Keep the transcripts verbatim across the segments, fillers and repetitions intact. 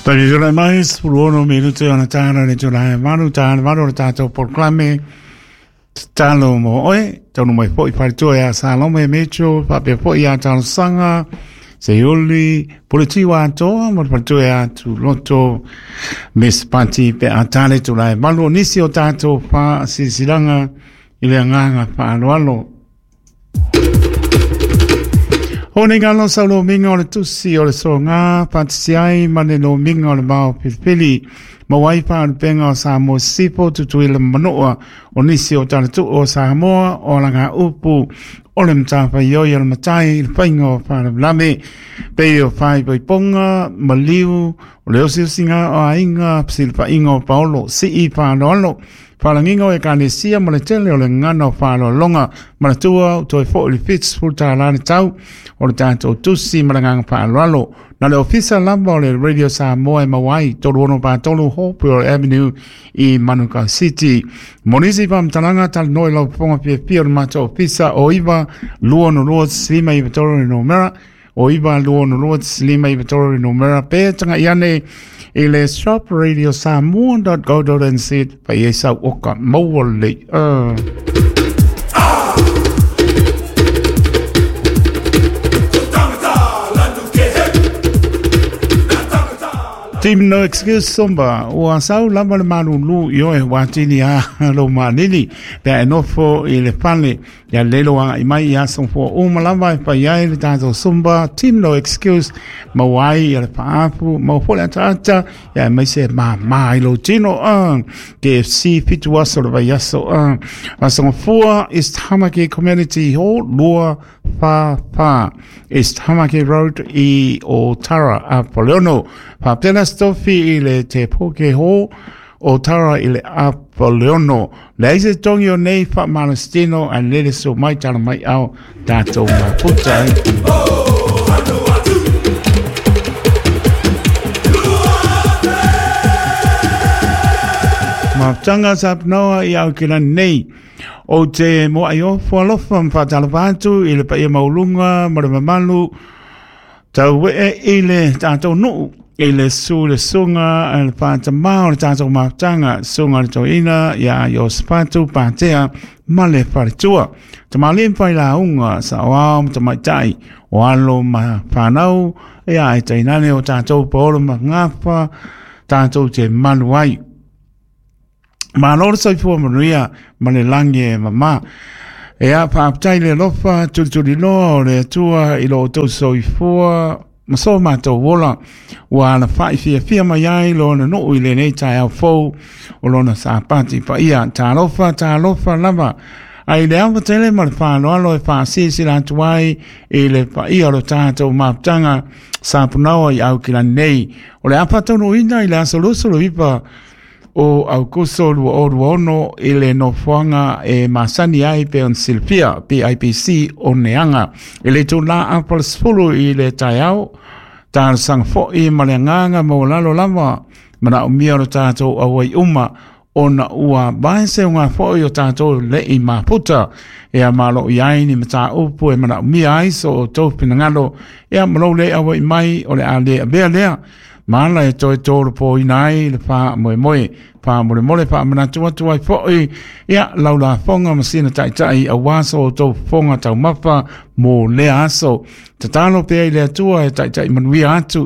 Tahi mai sefulu minute ona tāna le tūlae malu, tāna malu o le tātou polokalame tatalo mo oe, taunu mai fo'i faletua ia Salome Metro, faapea fo'i ia Talosaga, Seiuli, Puletiwa atoa, mo le faletua ia Tuloto, Miss Pati pe a tāle tūlae malu o nisi o tātou whaasisilanga i le agaga faaaloalo. O nei ngalo sau lo minga o le tusi o le soga patisi ai ma le lo minga o le mao pilipili. Mawai whaanpenga o Samoa Sipo tutuila manoa o nisi o talatu o Samoa o langa upu o le mtawhai oi o le matai le whainga o whaalamalame. Pei o whai paiponga, maliu, o le osiusinga o ainga, psilpainga o Paolo, sii whaaloalo. Whalanginga o e kanesia ma le tele o le ngana o whaalolonga ma le tua o toi fo o le fits futa lani tau o le tātou tusi ma le nganga whaaloalo. Na le ofisa lamba o le Radio Samoa e Mawai, tolu ono pātolu Hopewell Avenue i Manukau City. Monisi whamtalanga tal noi lau ponga pia pia o le mātou ofisa o iwa lua no lua lima iwa tolu no mera o iwa lua no lua lima iwa tolu no mera pe tanga iane i le shop radio samoa dot co dot n z pa i sau oka maua le. Uh. Team No Excuse Somba, ua sau lava le malulu i oe watini a lo manini, pea e nofo i le fale, ia lelo a i mai ia songfua uma lava e pai ai le tātou Somba, Team No Excuse, mauai ia le paapu, mau fole ata ata, ia e mai se ma ma i lo tino, uh, K F C fitu aso le vai aso, uh, a songfua East Tamaki Community Hall, lua fa fa, East Tamaki Road i Otara a Poleono, Papena stofi i le te poke ho o tara i le Apoleono. Le aise tongi o nei wha malastino a lele so mai tala mai au tātou maputa. Mafutanga sapnoa i au kila nei. O te moa i ofo alofa mwhatalapa atu i le paia maulunga ma le mamalu tau e i le tātou nuu. I le su le sunga le whātamā o le tātou mafutanga sunga le toina ia Iosefatu Pātea ma le wharetua. Ta malim whai la unga sa o ao ma tamaitai o alo ma whanau ia e tainane o tātou paolo ma ngawha tātou te malu ai. Ma lora soifua manuia ma le langi e mama. Ea whaapatai le lofa tulituli loa o le atua i lo o tau soifua ma so mātou wola ua ala whai fia fia mai ai lona nuu i lenei tae au fou o lona sāpati pa ia tālofa tālofa lava ai le awa tele ma le whāloalo e whaasisi la atu ai i le pa ia o lo tātou maputanga sāpunaua i au kila nei o le apatono ina i le asolusulu ipa o Aukuso lua o lua ono i le nofoanga e masani ai pe on Silvia P I P C o Neanga. I le tūlā apal sefulu i le taiao, tālasanga fo'i ma le anganga mo lalo lava, mana o mia o tātou awai uma ona ua vaese o ngā fo'i o tātou le i maputa. Ea malo i ai ni mata upu e mana o mia ai so o tau pinangalo, ea malo le awai mai o le a le avea lea. Mala e toi tōru pō inai le wha moe moe, wha more more, wha manatu atu ai fo'i, ia laula fonga masina taitai a waso o tō fonga tau mapa mō lea aso. Tatalo pea i le atua e taitai manuia atu,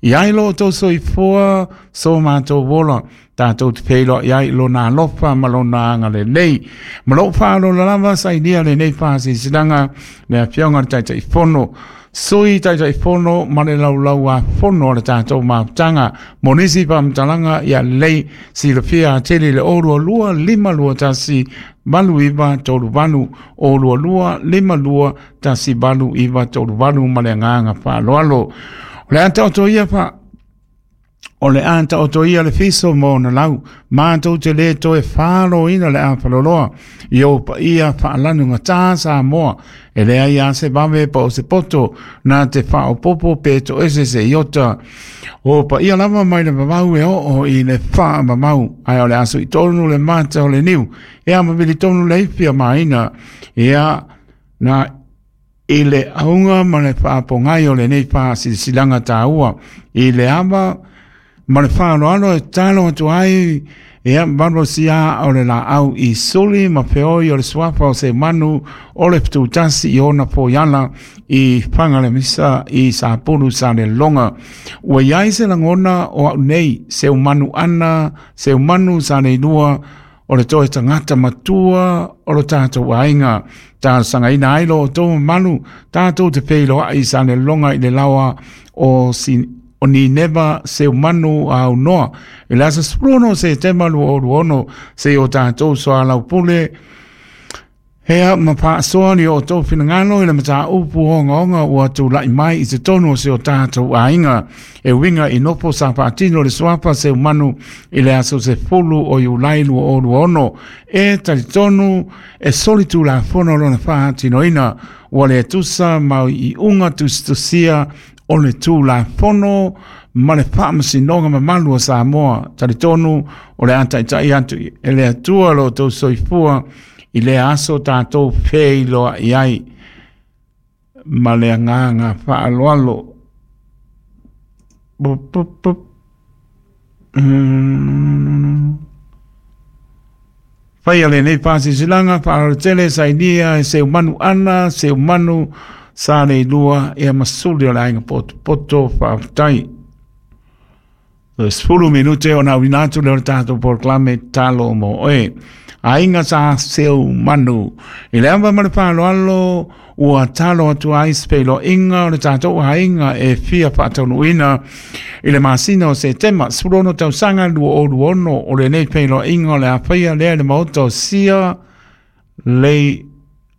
i ai lo tō soifua, so mātou wola, tātou te pēloa i ai lo nā lofa ma lo nā anga le nei. Ma lo wha lo lava sa inia le nei whaasisilanga, le awhionga le taitai fono. Sui taitai fono ma le laulau a fono o le tātou mafutanga. Monisi whamtalanga ia lei silafia tele le o lua lima lua tasi valu iwa tolu valu o lua lua lima lua tasi valu iwa tolu valu ma le anganga whaaloalo. O le ata o to ia wha o le ata o to ia le fiso mo na lau, mātou te le toe whālo ina le āwhaloloa, i o pa ia whaalanu ngā tā Samoa, e lea ia se vave pa o se poto, nā te whaopopo pe to ese se iota. O pa ia lava mai le mamau e oo i le wha mamau, ai o le aso i tonu le mata o le niu, e a mawili tonu le iwhia maina, e a nā i le aunga ma le whaapongai o le nei whaasilisilanga tāua, i le ama Ma le faaaloalo e talo atu ai ia malosia o le laau i suli ma feoi o le suafa o Seumanu o le Fututasi i ona foiala i Fagalemisa i Sapulu Salelologa. Ua iai se lagona o au nei Seumanu ana Seumanu Saleilua o le toe tagata matua o lo tatou aiga. Talosagaina ai lo outou mamalu tatou te feiloai i Salelologa i le laoa o si o Nineva Seumanu aunoa i le aso sefulu Setema lua o lua ono se o tatou soalaupule hea ma faasoa ni o outou finagalo i le mataupu ogaoga ua tula'i mai i totonu o se o tatou aiga e uiga i nofo sa faatino le suafa Seumanu i le aso sefulu o Iulai lua o lua ono e talitonu e solitulafono lona faatinoina ua le tusa ma iuga tusitusia o le tulafono ma le faamasinoga mamalu o Samoa. Talitonu o le a taita'i atu e le Atua lo outou soifua i le aso tatou feiloa'i ai ma le agaga faaaloalo. Faia lenei faasilasila faalotele sainia e Seumanu ana Seumanu Saleilua ia masuli o le aiga potopoto faafetai. Sefulu minute ona auina atu lea o le tatou polokalame talo mo oe. Aiga sa Seumanu. I le ava ma le faaaloalo ua talo atu ai se feiloaiga o le tatou aiga e fia faataunuuina i le masina o Setema sefulu ono tausaga lua o lua ono o lenei feiloaiga o le a faia lea i le maota o Sia Lei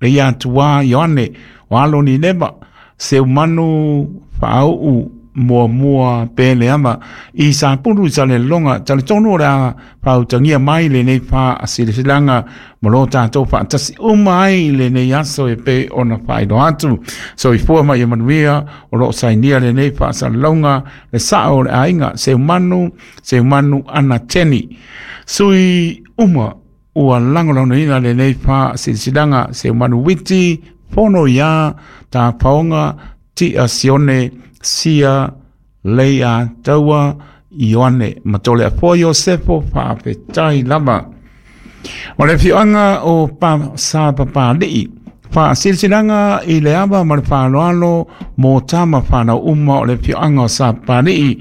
Leiatua Ioane o alo Nineva Seumanu faauu muamua pele ama i Sapulu i Salelologa. Talitonu o le a faautagia mai lenei faasilasila ma lo tatou faatasi uma ai lenei aso e pei ona faailoa atu. Soifua ma ia manuia o loo sainia lenei faasalalauga le sao o le aiga Seumanu Seumanu ana Teni. Sui uma ua lagolagoina lenei faasilasila Seumanu Witi Fono ia Tapaoga Tia Sione Sia Leia Taua Ioane Matole Afoa Iosefo faafetai lava. O le afioaga o pa, Sapapali'i faasilasila i le ava ma le faaaloalo mo tama fanau uma o le afioaga o Sapapali'i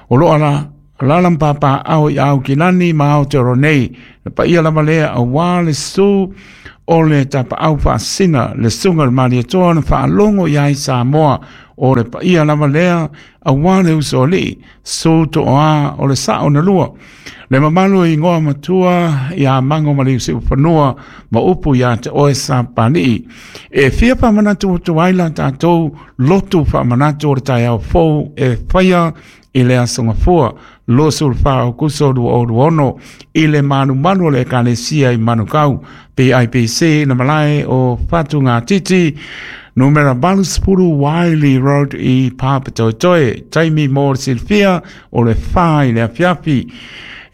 o loo ala alaalapapaao i Aukilani ma Aotearoa nei. Le paia lava lea auā le su o le tapaau faasina le suga le Malietoa na faalogo iai Samoa. O le paia lava lea auā le usoali'i su to'oā o le sa'o na lua. Le mamalu e igoa matua iā Mago ma le Iusiufanua ma upu iā te oe Sapapali'i. E fia faamanatu atu ai la tatou lotu faamanatu o le taeao fou e faia i le aso gafua luasefulufa Aokuso lua o lua ono i le malumalu o le Ekalesia i Manukau P I P C na malae o Fatugatiti numera valusefulu Wiley Road i Papatoetoe. Taimi mo le silafia o le fa i le afiafi.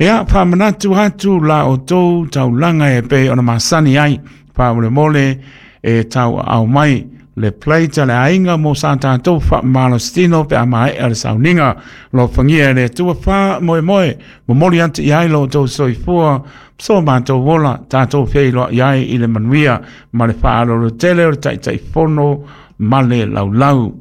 Ia faamanatu atu la outou taulaga e pei ona masani ai faamolemole e tauaau mai le plate le aiga mo sa tatou faamalositino pe a maea le sauniga. Lofagia e le Atua faamoemoe momoli atu i ai lo outou soifua so matou ola tatou feiloai ai i le manuia ma le faaaloalo tele o le Taitaifono ma le laulau.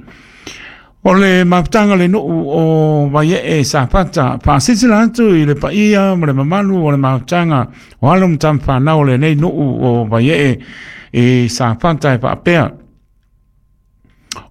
O le mafutaga le nuu o Vaiee Safata faasilasila atu i le paia ma le mamalu o le mafutaga o alo ma tamafanau o lenei nuu o Vaiee i Safata e faapea.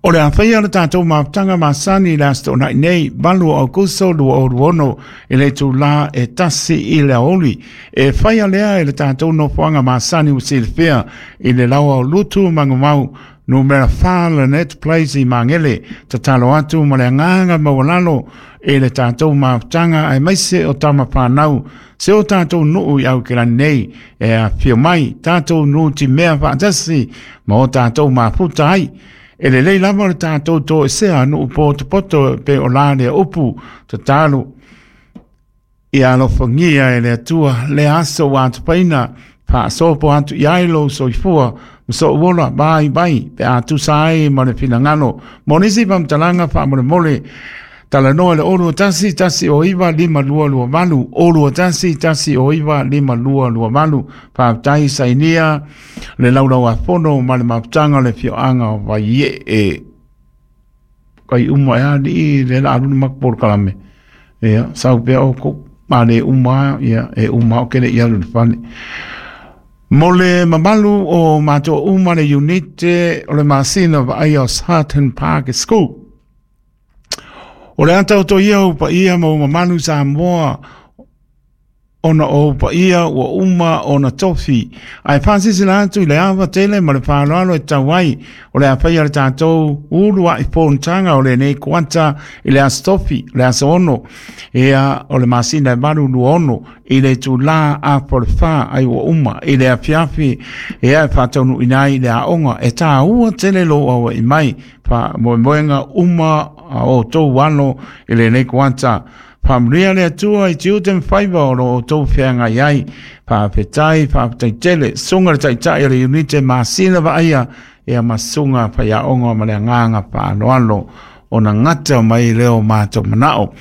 O le a faia le tatou mafutaga masani i le aso toonai nei valu o Aokuso lua o lua ono i le itulā e tasi i le aoauli. E faia lea e le tatou nofoaga masani ua silafia i le laoa o Lutu Magumau numera fa Lynette Place i Magele. Tatalo atu ma le agaga maualalo e le tatou mafutaga aemaise o tama fanau se o tatou nuu i Aukilani nei e afio mai tatou nutimea faatasi ma o tatou mafuta ai. E lelei lava o le tatou toesea nuu potopoto pe o la lea upu tatalo ia alofagia e le Atua le aso ua atupaina faasopo atu i ai lou soifua ma so'u ola vaivai pe a tusa ai ma le finagalo. Mo nisi faamatalaga faamolemole Talanoa le olu tasi tasi o iwa lima lua lua valu olu tasi tasi o iwa lima lua lua valu faafetai sainia le laulau a fono ma le mafutaga le fioaga o vaieʻe kai uma e aliʻi le la aluna makupolokalame ia sau pea oukou ma le uma ia e uma o kele ia le fale mo le mamalu o matou uma le unite o le masina vaaia o Sutton Park School. O le ata o toia o paia ma o mamalu Samoa ona o paia ua uma ona tofi. Ae faasilasila atu i le ava tele ma le faaaloalo e tau ai o le afaia le tatou ulu a'i fonotaga o lenei kuata i le aso tofi, le aso ono, ia o le masina e valu lua ono i le itulā afa o le fa ai ua uma i le afiafi ia e faataunuuina ai i le aoga e tāua tele lou aua'i mai faamoemoega uma a outou alo i lenei kuata. Faamanuia le Atua i tiute ma faiva o lo outou feagai ai. Faafetai, faafetai tele. Suga le taitai o le unite masina vaaia ia ma suga faiaoga ma le agaga faaaloalo ona gata mai leo matou manao.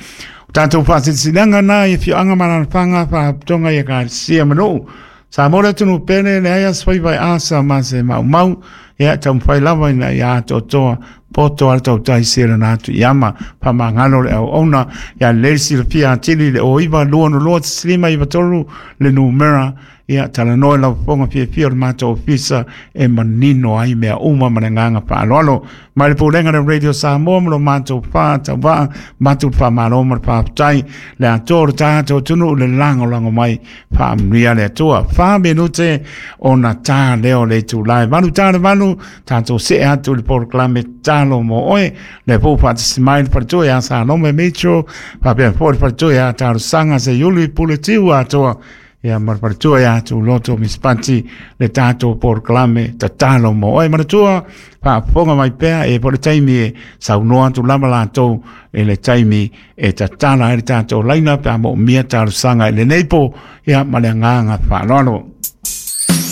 O tatou faasilasilaga na i afioaga ma alaalafaga faalapotopotoga i ekalesia ma nuu. Samoa le atunuu pele leai aso faiva e asa ma se maumau ia taumafai lava ina ia atoatoa poto a le tautai selana atu i ama faamagalo le auauna ia lelei silafia atili le o iva lua ono lua tasi lima iva tolu le numera ia talanoa i lau fofoga fiafia o le matou ofisa e manino ai mea uma ma le agaga faaaloalo. Mai le Pulega le Radio Samoa ma lo matou faatauvaa matou le faamalo ma le faafetai le atoa o le tatou atunuu le lagolago mai faamanuia le Atua. Fa minute ona tā leo le itulā e valu tā le valu tatou see atu i le polokalame tatalo mo oe le pou faatasi mai le faletua ia Salome Mitchell faapea foi le faletua ia Talosaga Seiuli Pule Tiu atoa ia ma le faletua ia Tuloto Mispati le tatou polokalame tatalo mo oe. Manatua faafofoga mai pea e po le taimi e saunoa atu lava latou i le taimi e tatala ai le tatou laina pe a moomia talosaga i lenei po ia ma le agaga faaaloalo.